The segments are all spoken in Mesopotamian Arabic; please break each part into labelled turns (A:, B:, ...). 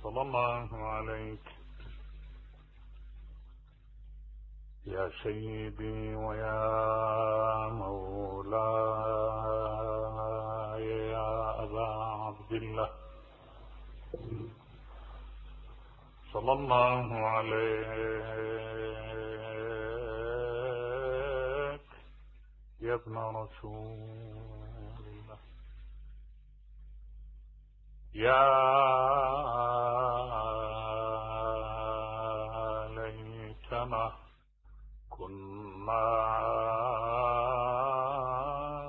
A: صلى الله عليك يا سيدي ويا مولاي يا أبا عبد الله، صلى الله عليك يا ابن رسول الله، يا ليتنا كنا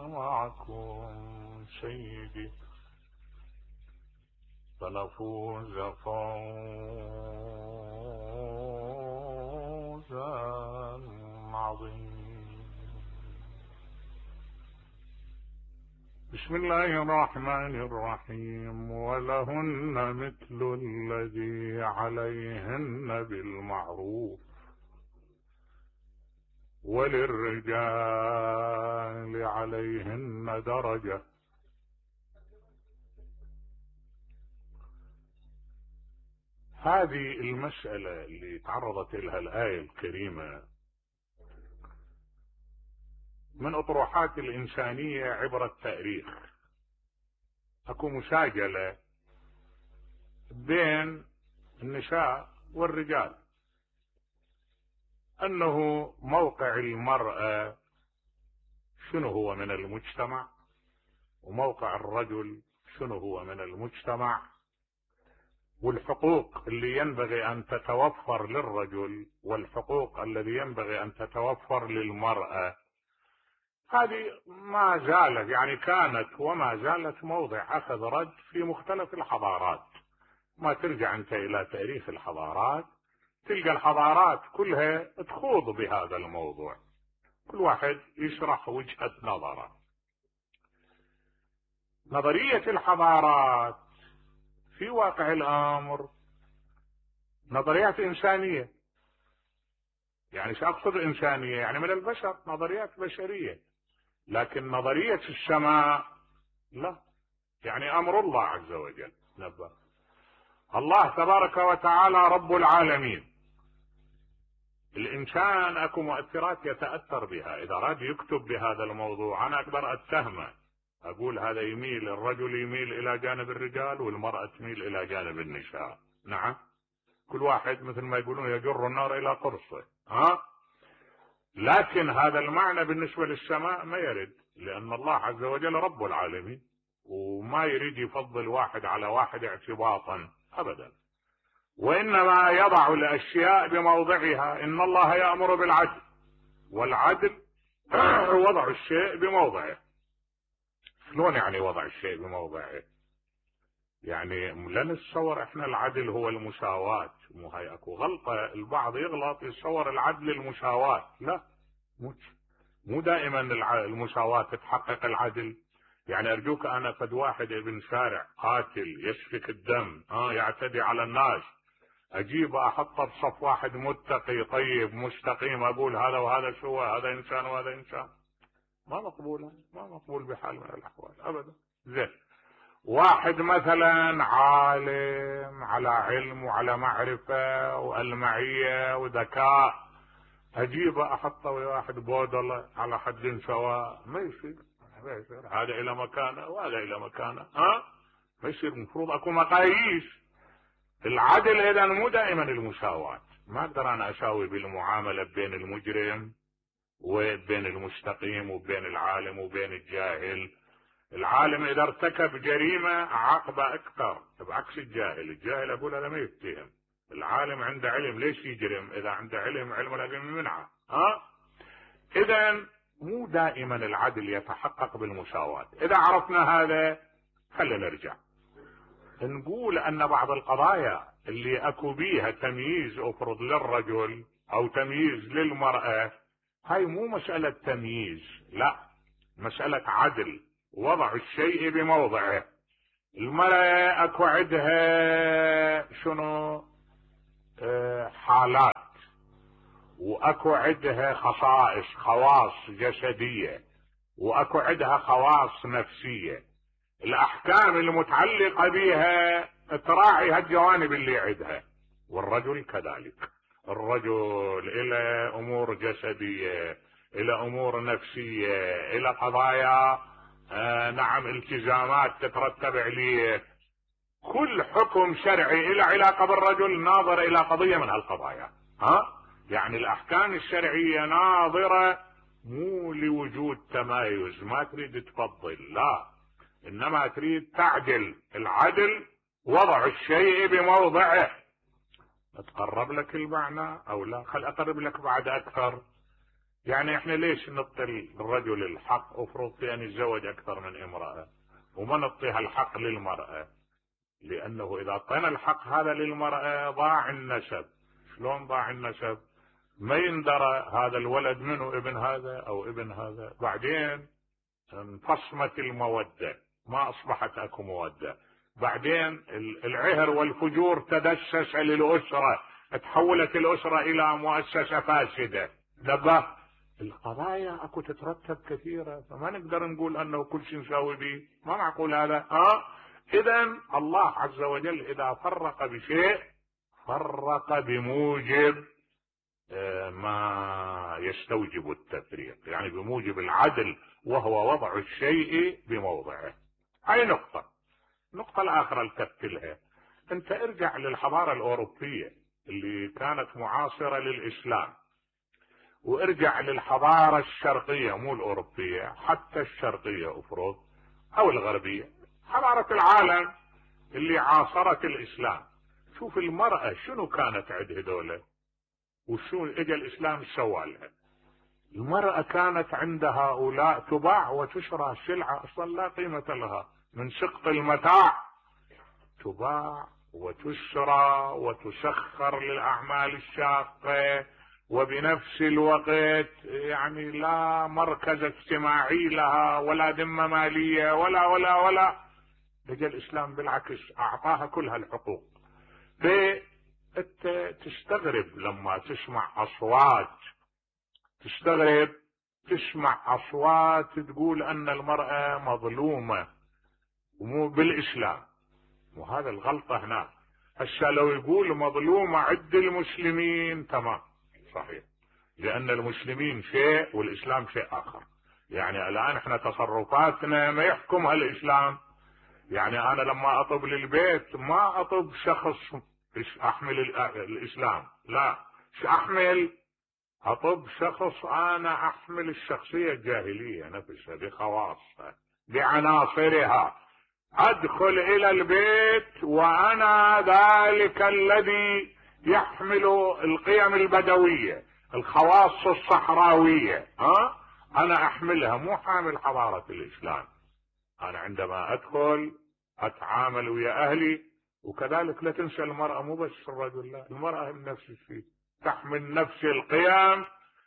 A: معكم سيدي فنفوز فوزا عظيما. بسم الله الرحمن الرحيم. ولهن مثل الذي عليهن بالمعروف وللرجال عليهن درجة. هذه المسألة اللي تعرضت لها الآية الكريمة من أطروحات الإنسانية عبر التاريخ. أكو مساجلة بين النساء والرجال، أنه موقع المرأة شنو هو من المجتمع، وموقع الرجل شنو هو من المجتمع، والحقوق اللي ينبغي أن تتوفر للرجل والحقوق الذي ينبغي أن تتوفر للمرأة. هذه ما زالت يعني كانت وما زالت موضع أخذ رد في مختلف الحضارات. ما ترجع أنت إلى تاريخ الحضارات تلقى الحضارات كلها تخوض بهذا الموضوع، كل واحد يشرح وجهة نظره. نظرية الحضارات في واقع الأمر نظريات إنسانية. يعني سأقصد إنسانية يعني من البشر، نظريات بشرية. لكن نظرية السماء لا، يعني أمر الله عز وجل. نبه الله تبارك وتعالى رب العالمين. الإنسان أكو مؤثرات يتأثر بها. إذا راد يكتب بهذا الموضوع أنا أقدر أتهمه، أقول هذا يميل، الرجل يميل إلى جانب الرجال والمرأة تميل إلى جانب النساء. نعم، كل واحد مثل ما يقولون يجر النار إلى قرصه. لكن هذا المعنى بالنسبة للسماء ما يرد، لأن الله عز وجل رب العالمين وما يريد يفضل واحد على واحد اعتباطا أبدا، وإنما يضع الأشياء بموضعها. إن الله يأمر بالعدل، والعدل وضع الشيء بموضعه. شلون يعني وضع الشيء بموضعه؟ يعني لا نتصور احنا العدل هو المساواة. مو هاي اكو غلطة، البعض يغلط يتصور العدل المساواة. لا، مو دائما المساواة تتحقق العدل. يعني ارجوك انا قد واحد ابن شارع قاتل يسفك الدم يعتدي على الناس، اجيب احطه بصف واحد متقي طيب مستقيم، اقول هذا وهذا سوى، هذا انسان وهذا انسان. ما مقبولة، ما مقبول بحال من الاحوال ابدا. زين، واحد مثلا عالم على علم وعلى معرفة والمعية وذكاء، اجيبه احطه ويا واحد بودلة على حد سواء، ما يصير. هذا الى مكانه وهذا الى مكانه. ما يصير. المفروض اكو مقاييس. العدل اذا مو دائما المساواة. ما اقدر انا اساوي بالمعاملة بين المجرم وبين المستقيم وبين العالم وبين الجاهل. العالم اذا ارتكب جريمة عاقبة اكثر بعكس الجاهل. الجاهل اقول هذا ما يتهم، العالم عنده علم ليش يجرم؟ اذا عنده علم العلم منعه. اذا مو دائما العدل يتحقق بالمساواة. اذا عرفنا هذا خلينا نرجع نقول ان بعض القضايا اللي اكو بيها تمييز افرض للرجل او تمييز للمرأة، هاي مو مسألة تمييز، لا، مسألة عدل، وضع الشيء بموضعه. المرأة اكو عندها شنو حالات، واكو عندها خصائص، خواص جسدية، واكو عندها خواص نفسية. الاحكام المتعلقة بها تراعي هالجوانب اللي عندها. والرجل كذلك، الرجل الى امور جسدية، الى امور نفسية، الى قضايا نعم التزامات تترتب عليه. كل حكم شرعي له علاقة بالرجل ناظر الى قضية من هالقضايا. يعني الاحكام الشرعية ناظرة مو لوجود تمايز، ما تريد تفضل، لا، انما تريد تعدل. العدل وضع الشيء بموضعه. اتقرب لك المعنى او لا؟ خل اقرب لك بعد اكثر. يعني احنا ليش نعطي الرجل الحق؟ افرض في ان يتزوج اكثر من امرأة وما نعطيها الحق للمرأة، لانه اذا اعطينا الحق هذا للمرأة ضاع النسب. شلون ضاع النسب؟ ما يندرى هذا الولد منه ابن هذا او ابن هذا، بعدين انفصمت المودة، ما اصبحت اكو مودة، بعدين العهر والفجور تدسس للأسرة، تحولت الأسرة إلى مؤسسة فاسدة. نبه، القضايا اكو تترتب كثيرة، فما نقدر نقول انه كل شيء نساوي به، ما معقول هذا. اذا الله عز وجل اذا فرق بشيء فرق بموجب ما يستوجب التفريق، يعني بموجب العدل، وهو وضع الشيء بموضعه. هاي نقطة. النقطة الآخرة الكتلها، انت ارجع للحضارة الأوروبية اللي كانت معاصرة للإسلام، وارجع للحضارة الشرقية، مو الأوروبية، حتى الشرقية افرض أو الغربية، حضارة العالم اللي عاصرت الإسلام. شوف المرأة شنو كانت عند هذول، وشو اجى الإسلام سوى لها. المرأة كانت عند هؤلاء تباع وتشرى، سلعة أصلا لا قيمة لها، من سقط المتاع تباع وتشرى وتسخر للأعمال الشاقة، وبنفس الوقت يعني لا مركز اجتماعي لها ولا ذمة مالية ولا ولا ولا. لجى الإسلام بالعكس أعطاها كل هالحقوق. انت تستغرب لما تسمع أصوات، تستغرب تسمع أصوات تقول أن المرأة مظلومة ومو بالإسلام، وهذا الغلطة هنا. هسه لو يقول مظلومة عند المسلمين تمام صحيح، لأن المسلمين شيء والإسلام شيء آخر. يعني الآن احنا تصرفاتنا ما يحكمها الإسلام. يعني أنا لما أطب للبيت ما أطب شخص أحمل الإسلام، لا، أحمل أطب شخص أنا أحمل الشخصية الجاهلية نفسها بخواصها بعناصرها. أدخل إلى البيت وأنا ذلك الذي يحمل القيم البدوية، الخواص الصحراوية، أنا أحملها، مو حامل حضارة الإسلام. أنا عندما أدخل أتعامل ويا أهلي. وكذلك لا تنسى المرأة، مو بس الرجل، لا، المرأة نفس الشيء تحمل نفس القيم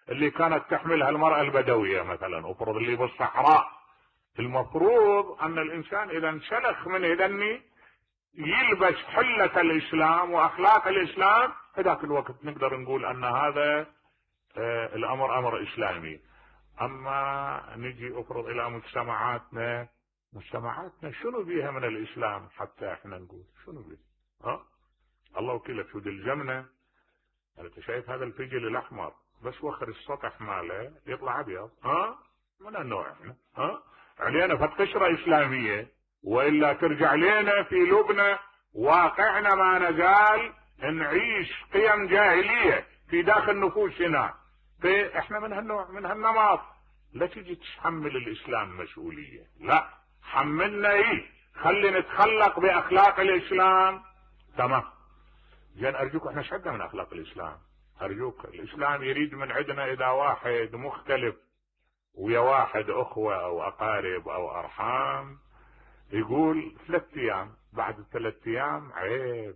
A: اللي كانت تحملها المرأة البدوية مثلا، افرض اللي بالصحراء. المفروض أن الإنسان إذا انسلخ من هذني يلبس حلة الإسلام وأخلاق الإسلام، في ذاك الوقت نقدر نقول أن هذا الأمر أمر إسلامي. أما نجي افرض إلى مجتمعاتنا شنو بيها من الإسلام حتى احنا نقول شنو بيها؟ الله وكيلك شو الجمنة. انت شايف هذا الفجل الأحمر بس وخر السطح ماله يطلع أبيض، من النوع احنا، علينا فتقشرة إسلامية، وإلا ترجع لنا في لبنى واقعنا ما نزال نعيش قيم جاهلية في داخل نفوسنا. فاحنا من هالنوع من هالنمط. لا تجي تحمل الإسلام مسؤولية، لا، حملنا خلي نتخلق بأخلاق الإسلام. تمام، زين أرجوك احنا ايش عندنا من أخلاق الإسلام؟ أرجوك، الإسلام يريد من عندنا إذا واحد مختلف ويا واحد أخوة أو أقارب أو أرحام يقول 3 أيام، بعد 3 أيام عيب،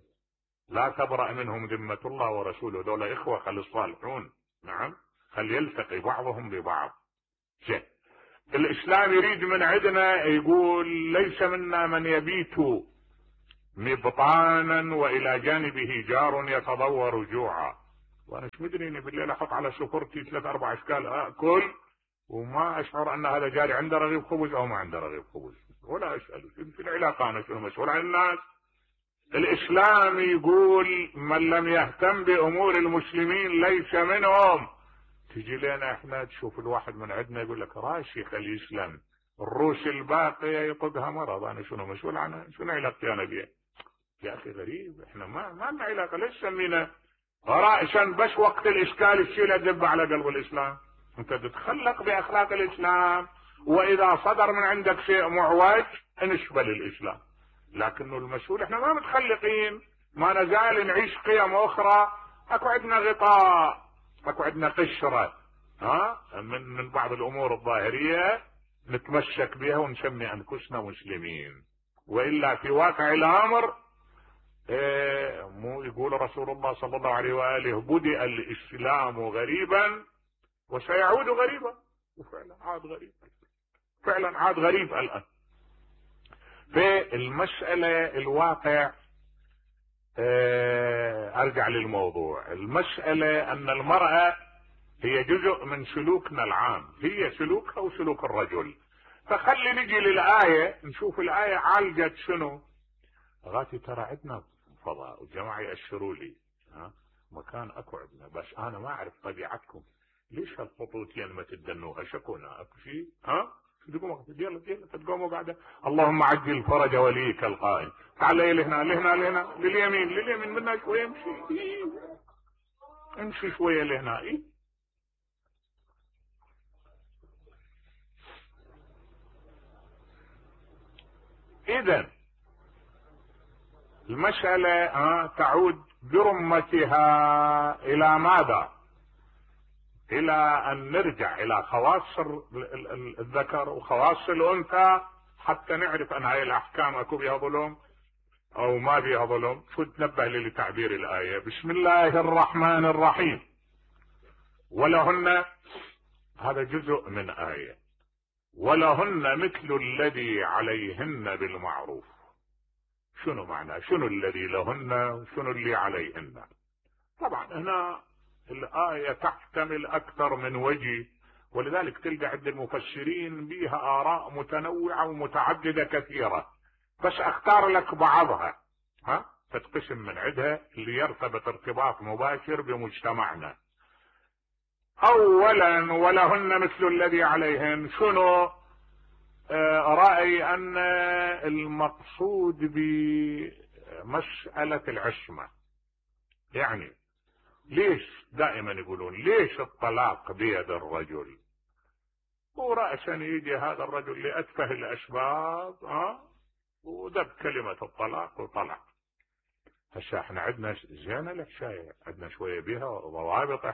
A: لا تبرأ منهم ذمة الله ورسوله، دول إخوة خلي الصالحون، نعم، خل يلتقي بعضهم ببعض. زين، الإسلام يريد من عندنا يقول ليس منا من يبيت مبطانا وإلى جانبه جار يتضور جوعا. وأنا ايش مدري اني بالليل احط على سفرتي 3-4 اشكال اكل وما اشعر ان هذا جاري عنده رغيف خبز او ما عنده رغيف خبز، ولا اساله في العلاقه، انا شنو مسؤول عن الناس. الاسلام يقول من لم يهتم بامور المسلمين ليس منهم. تجي لنا احنا تشوف الواحد من عندنا يقول لك راشي خليه يسلم، الروس الباقيه يطقها مرض، انا شنو مسؤول عنها؟ شنو علاقتي انا بيه؟ يا اخي غريب، احنا ما لنا علاقه، ليش سمينا رأسا بس وقت الاشكال تشيل الدب على قلب الاسلام؟ انت تتخلق باخلاق الاسلام، واذا صدر من عندك شيء معوج انشبل الاسلام. لكنه المسؤول احنا ما متخلقين، ما نزال نعيش قيم اخرى، اكو عندنا غطاء، اكو عندنا قشره من بعض الامور الظاهريه نتمسك بها ونسمي انفسنا مسلمين. والا في واقع الامر مو يقول رسول الله صلى الله عليه واله بدأ الاسلام غريبا وسيعود غريبا، وفعلا عاد غريب، فعلا عاد غريب الان. في المسألة الواقع ارجع للموضوع، المسألة ان المرأة هي جزء من سلوكنا العام، هي سلوكها وسلوك الرجل. فخلي نجي للآية نشوف الآية عالجت شنو. غاتي ترى عندنا فضاء والجماعة يأشروا لي مكان اكو عندنا، بس انا ما اعرف طبيعتكم، ليش هالخطوتين ما تدنوها؟ شكونا اكو شيء يلا تقوموا بعده. اللهم عجل فرج وليك القائم، تعال لهنا لهنا لهنا لليمين لليمين منا شويه، امشي شويه لهنا. اذا المسألة تعود برمتها الى ماذا؟ الى ان نرجع الى خواص الذكر وخواص الانثى حتى نعرف ان هاي الاحكام اكو بها ظلم او ما بها ظلم. شو تنبه لي لتعبير الايه؟ بسم الله الرحمن الرحيم. ولهن، هذا جزء من ايه، ولهن مثل الذي عليهن بالمعروف. شنو معنى؟ شنو الذي لهن وشنو اللي عليهن؟ طبعا هنا الآية تحتمل أكثر من وجه، ولذلك تلقى عند المفسرين بها آراء متنوعة ومتعددة كثيرة، بس أختار لك بعضها تتقسم من عندها اللي يرتبط ارتباط مباشر بمجتمعنا. أولا ولهن مثل الذي عليهن، شنو؟ رأي أن المقصود بمسألة العصمة. يعني ليش دائما يقولون ليش الطلاق بيد الرجل؟ ورأسا يجي هذا الرجل لأتفه الأسباب ودب كلمة الطلاق وطلع. هسه احنا عندنا زين الحكاية، عندنا شوية بها ضوابط.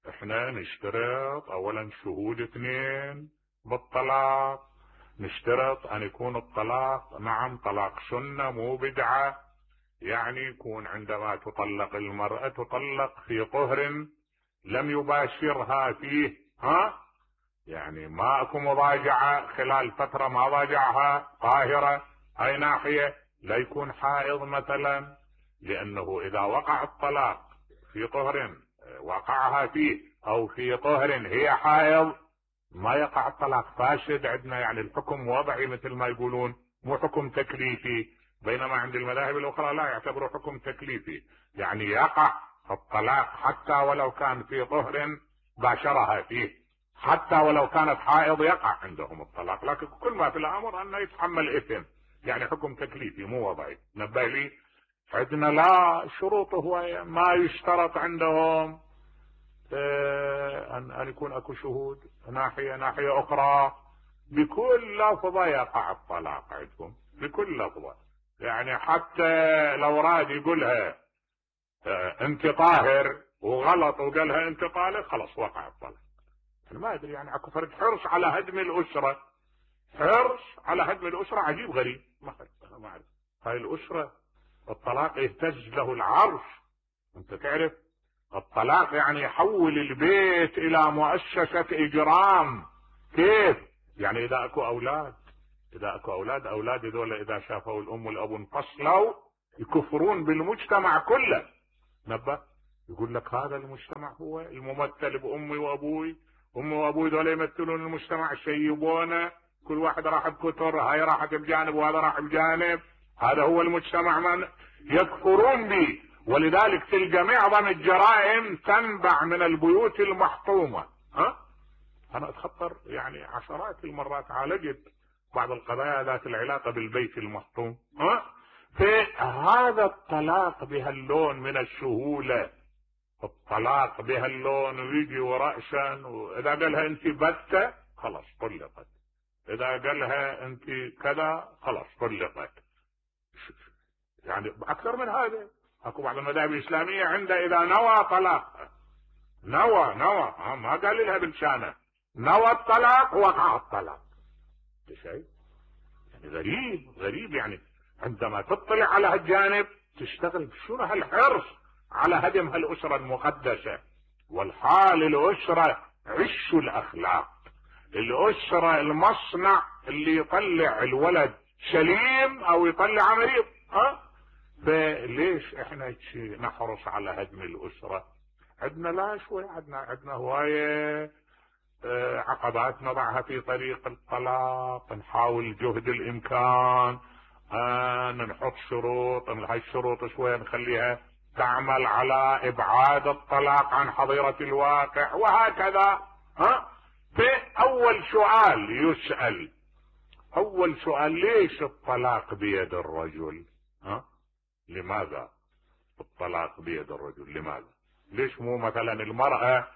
A: احنا نشترط اولا شهود 2 بالطلاق، نشترط ان يكون الطلاق نعم طلاق سنة مو بدعة، يعني يكون عندما تطلق المرأة تطلق في طهر لم يباشرها فيه، يعني ما اكو مضاجعة خلال فترة ما ضاجعها، طاهرة. اي ناحية لا يكون حائض مثلا، لانه اذا وقع الطلاق في طهر وقعها فيه او في طهر هي حائض ما يقع الطلاق، فاسد عندنا. يعني الحكم وضعي مثل ما يقولون، مو حكم تكليفي، بينما عند المذاهب الاخرى لا يعتبروا حكم تكليفي، يعني يقع الطلاق حتى ولو كان في طهر باشرها فيه، حتى ولو كانت حائض يقع عندهم الطلاق. لكن كل ما في الامر انه يتحمل اثم، يعني حكم تكليفي مو وضعي. نبه لي عندنا لا شروط، هو ما يشترط عندهم ان يكون اكو شهود. ناحية اخرى بكل لفظة يقع الطلاق عندكم، بكل لفظة. يعني حتى لو راد يقولها انت طاهر وغلط وقالها انت طالق، خلاص وقع الطلاق. انا ما ادري، يعني اكو فرد حرص على هدم الاسرة، حرص على هدم الاسرة عجيب غريب. ما اعرف هاي الاسرة الطلاق يهتز له العرش. انت تعرف الطلاق يعني يحول البيت الى مؤسسة اجرام. كيف؟ يعني اذا اكو اولاد هذول اذا شافوا الام والاب انفصلوا يكفرون بالمجتمع كله. نبه يقول لك هذا المجتمع هو الممثل بامي وابوي، امي وابوي دول يمثلون المجتمع، شيبونا، كل واحد راح بكتر، هاي راحت بجانب وهذا راح بجانب، هذا هو المجتمع. من يكفرون بي. ولذلك تلقى معظم الجرائم تنبع من البيوت المحطومة. انا اتخطر يعني عشرات المرات عالجت بعض القضايا ذات العلاقة بالبيت المحطوم. فهذا الطلاق بهاللون من السهولة، الطلاق بهاللون ويجي وراء شان، واذا قالها انت بتة خلاص طلقت، اذا قالها انت كذا خلاص طلقت. يعني اكثر من هذا اكو بعض المذاهب الاسلامية عنده اذا نوى طلاق، نوى ما قال لها بلسانه، نوى الطلاق وقع الطلاق. شيء يعني غريب يعني عندما تطلع على هالجانب تشتغل شنو هالحرص على هدم هالاسرة المقدسة. والحال الاسرة عش الاخلاق، الاسرة المصنع اللي يطلع الولد سليم او يطلع مريض. فليش احنا نحرص على هدم الاسرة؟ عندنا لا شوي، عندنا هواية عقبات نضعها في طريق الطلاق، نحاول جهد الامكان نحط شروط، هاي الشروط شوية نخليها تعمل على ابعاد الطلاق عن حظيرة الواقع وهكذا. فاول سؤال يسأل، اول سؤال ليش الطلاق بيد الرجل؟ لماذا الطلاق بيد الرجل؟ لماذا؟ ليش مو مثلا المرأة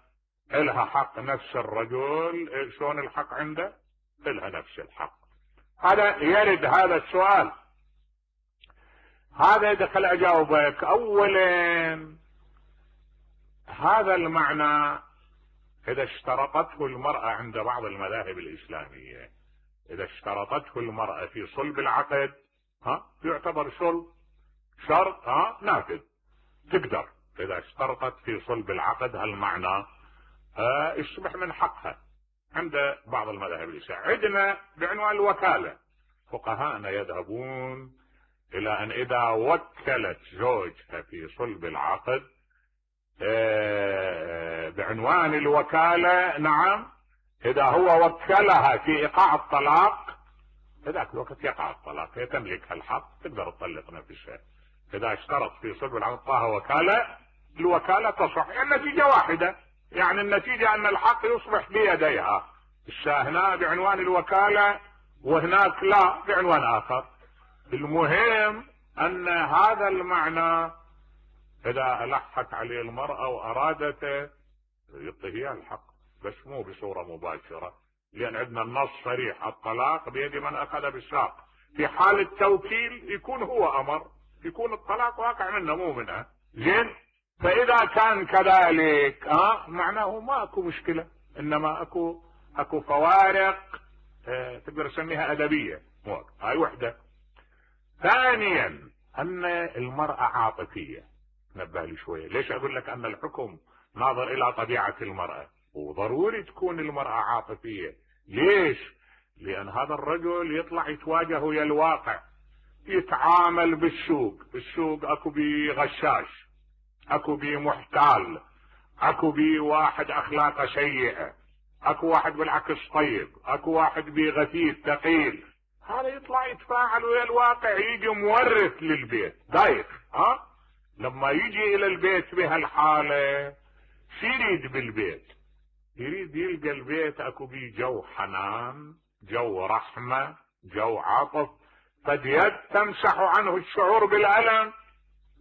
A: إلها حق نفس الرجل؟ شلون الحق عنده؟ إلها نفس الحق. هذا يرد هذا السؤال، هذا دخل أجاوبك. أولا هذا المعنى إذا اشترطته المرأة عند بعض المذاهب الإسلامية، إذا اشترطته المرأة في صلب العقد يعتبر شرط نافذ، تقدر إذا اشترطت في صلب العقد هالمعنى يصبح من حقها عند بعض المذاهب الإسلامية. عندنا بعنوان الوكالة فقهاءنا يذهبون إلى أن إذا وكلت زوجها في صلب العقد بعنوان الوكالة، نعم، إذا هو وكلها في إيقاع الطلاق ذاك الوقت يقع الطلاق، هي تملك الحق تقدر تطلق نفسها. إذا اشترط في صلب العقد طه وكالة، الوكالة تصح، النتيجة واحدة، يعني النتيجة أن الحق يصبح بيديها. هنا بعنوان الوكالة وهناك لا بعنوان آخر. المهم أن هذا المعنى إذا ألحت عليه المرأة وأرادته يعطيها الحق، بس مو بصورة مباشرة، لأن عندنا النص صريح الطلاق بيد من أخذ بالساق. في حال التوكيل يكون هو أمر، يكون الطلاق واقع منه مو منها. زين، فإذا كان كذلك معناه ما أكو مشكلة، إنما أكو فوارق تقدر تسميها أدبية. هاي وحدة. ثانيا أن المرأة عاطفية، نبه لي شوية. ليش أقول لك أن الحكم ناظر إلى طبيعة المرأة؟ وضروري تكون المرأة عاطفية. ليش؟ لأن هذا الرجل يطلع يتواجه ويا الواقع، يتعامل بالسوق. السوق أكو بي غشاش، أكو بي محتال، أكو بي واحد أخلاقه سيئة، أكو واحد بالعكس طيب، أكو واحد بي غثيث ثقيل. هذا يطلع يتفاعل ويا الواقع، يجي مورث للبيت دايخ. لما يجي إلى البيت بهالحالة شو يريد بالبيت؟ يريد يلقى البيت اكو بيه جو حنان، جو رحمة، جو عطف، قد يد تمسح عنه الشعور بالألم.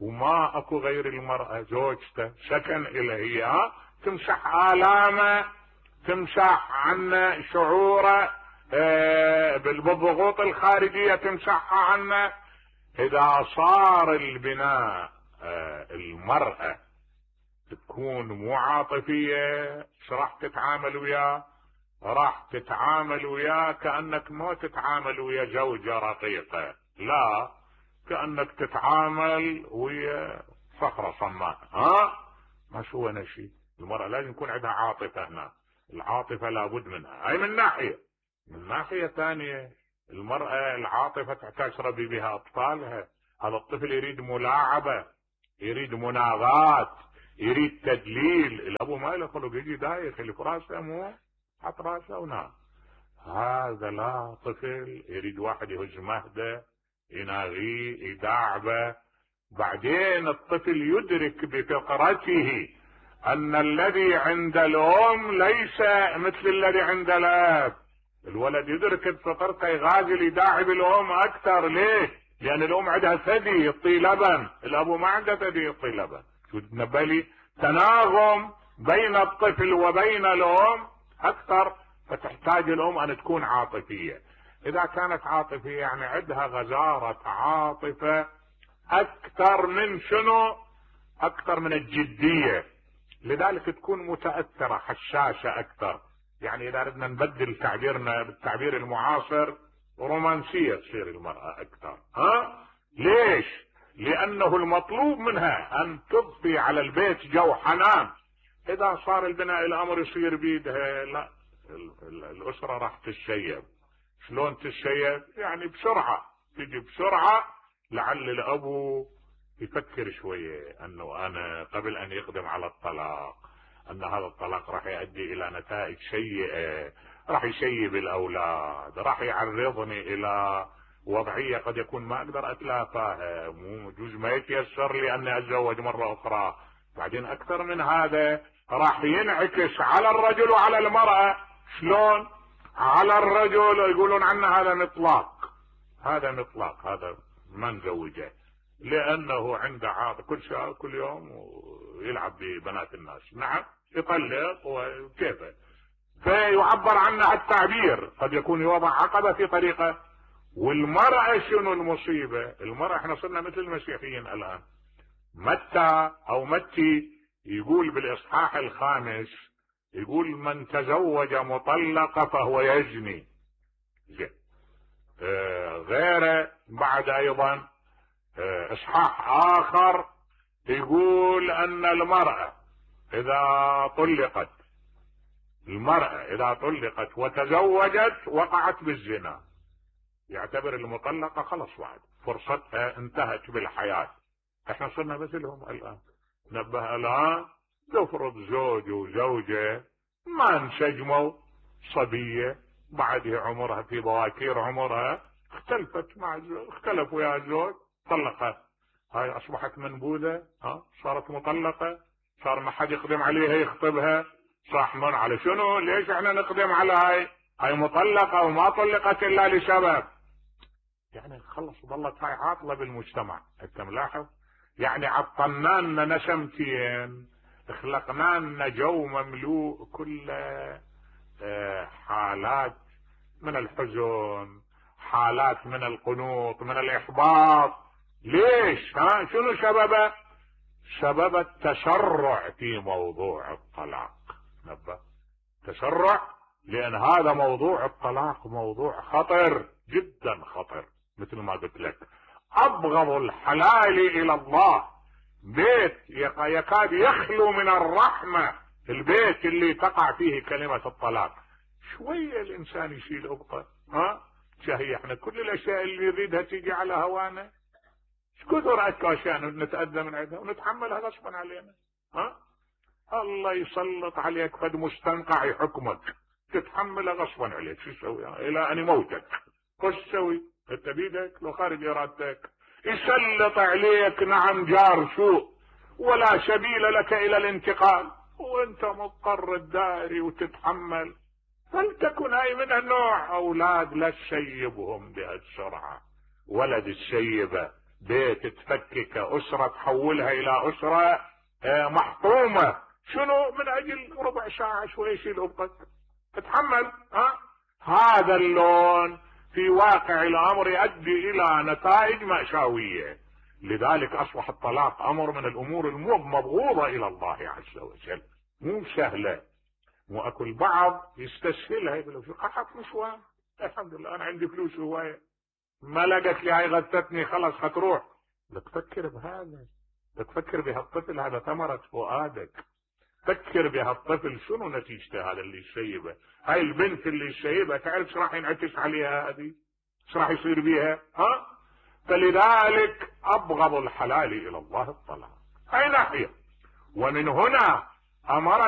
A: وما اكو غير المرأة زوجته سكن إليه، تمسح آلامه، تمسح عنه شعوره بالضغوط الخارجية، تمسحها عنه. إذا صار البناء المرأة تكون مو عاطفية، راح تتعامل وياه؟ راح تتعامل وياه كأنك ما تتعامل ويا زوجة رقيقة، لا، كأنك تتعامل ويا صخرة صماء. ما شو نشي. المرأة لازم يكون عندها عاطفة. هنا العاطفة لابد منها. هاي من ناحية. من ناحية ثانية المرأة العاطفة تحتاج تربي بها أطفالها. هذا الطفل يريد ملاعبة، يريد مناغات، يريد تدليل. الأبو ما له خلق، يجي دايخ اللي في راسه مو حط راسه ونام. هذا لا طفل، يريد واحد يهز مهده، يناغيه، يداعبه، بعدين الطفل يدرك بفطرته ان الذي عند الام ليس مثل الذي عند الاب. الولد يدرك بفطرته يغازل يداعب الام اكثر. ليه؟ لان الام عندها ثدي يعطي لبن، الاب ما عنده ثدي يعطي لبن. شو تنبلي تناغم بين الطفل وبين الام اكثر، فتحتاج الام ان تكون عاطفيه. اذا كانت عاطفيه يعني عندها غزاره عاطفه اكثر من شنو؟ اكثر من الجديه، لذلك تكون متاثره حشاشه اكثر. يعني اذا بدنا نبدل تعبيرنا بالتعبير المعاصر، رومانسيه تصير المراه اكثر. ليش؟ لانه المطلوب منها ان تضفي على البيت جو حنان. اذا صار البناء الامر يصير بيدها، لا، الاسره راح تتشيب. شلون تتشيب؟ يعني بسرعه، تجي بسرعه، لعل الابو يفكر شويه انه انا قبل ان يقدم على الطلاق ان هذا الطلاق راح يؤدي الى نتائج سيئه، راح يشيب الاولاد، راح يعرضني الى وضعيه قد يكون ما اقدر اتلافاها، مو جزء ما يتيسر لي اني اتزوج مره اخرى. بعدين اكثر من هذا راح ينعكس على الرجل وعلى المراه. شلون؟ على الرجل يقولون عنه هذا مطلاق، هذا مطلاق، هذا ما نزوجه، لانه عنده عاطفه كل يوم ويلعب ببنات الناس. نعم، يطلق وكيفه، فيعبر عنها التعبير، قد يكون يوضع عقبه في طريقه. والمراه شنو المصيبه؟ المراه احنا صرنا مثل المسيحيين الان. متى يقول بالاصحاح 5، يقول من تزوج مطلقه فهو يزني. غيره بعد ايضا اصحاح اخر يقول ان المرأة اذا طلقت وتزوجت وقعت بالزنا، يعتبر المطلقة خلص بعد فرصتها انتهت بالحياة. احنا صرنا مثلهم الان. نبه الان تفرض زوج وزوجة ما انسجموا، صبية بعدها عمرها في بواكير عمرها اختلفوا يا زوج، طلقها، هاي اصبحت منبوذة، صارت مطلقة، صار ما حد يقدم عليها يخطبها، صح؟ من على شنو؟ ليش احنا نقدم على هاي مطلقة وما طلقت الا لسبب؟ يعني خلص ظلت هاي عاطلة بالمجتمع. انت ملاحظ؟ يعني عطلنا لنا نسمتين، خلقنا لنا جو مملوء كل حالات من الحزن، حالات من القنوط، من الاحباط. ليش؟ شنو سببه؟ سبب التسرع في موضوع الطلاق. نبه، تسرع، لان هذا موضوع الطلاق موضوع خطر جدا، خطر. مثل ما قلت لك، ابغض الحلال الى الله بيت يكاد يخلو من الرحمة، البيت اللي تقع فيه كلمة الطلاق. شوية الانسان يشيل ابطه، شهي احنا كل الاشياء اللي يريدها تيجي على هوانا، كثر اشياء نتأذى من عندها ونتحملها غصبا علينا. الله يسلط عليك فد مستنقع يحكمك تتحملها غصبا عليك. شو تسوي الى ان يموتك؟ وش تسوي؟ انت بيدك لو خارج ارادتك. يسلط عليك نعم جار سوء ولا سبيل لك الى الانتقال، وانت مضطر تداري وتتحمل. فلتكن هاي من النوع. اولاد لا تشيبهم بهالسرعة، ولد تشيبه، بيت تفكك، اسرة تحولها الى اسرة محطومة. شنو؟ من اجل ربع ساعة شوي يشيل ابطك، تتحمل. هذا اللون في واقع الامر يؤدي الى نتائج مأساوية. لذلك اصبح الطلاق امر من الامور المبغوضة الى الله عز وجل، مو سهلة. مو اكو البعض يستسهلها، يقول في قحط نسوان، الحمد لله انا عندي فلوس هواية، ما لقت لي هاي غثتني خلاص هتروح. تفكر بهذا، تفكر بهالطفل، هذا ثمرة فؤادك. فكر بهالطفل شنو نتيجته، هذا اللي يشيبه، هاي البنت اللي يشيبها تعرف ايش راح ينعكس عليها، هذه ايش راح يصير بيها. فلذلك ابغض الحلال الى الله الطلاق. هاي ناحية. ومن هنا امرنا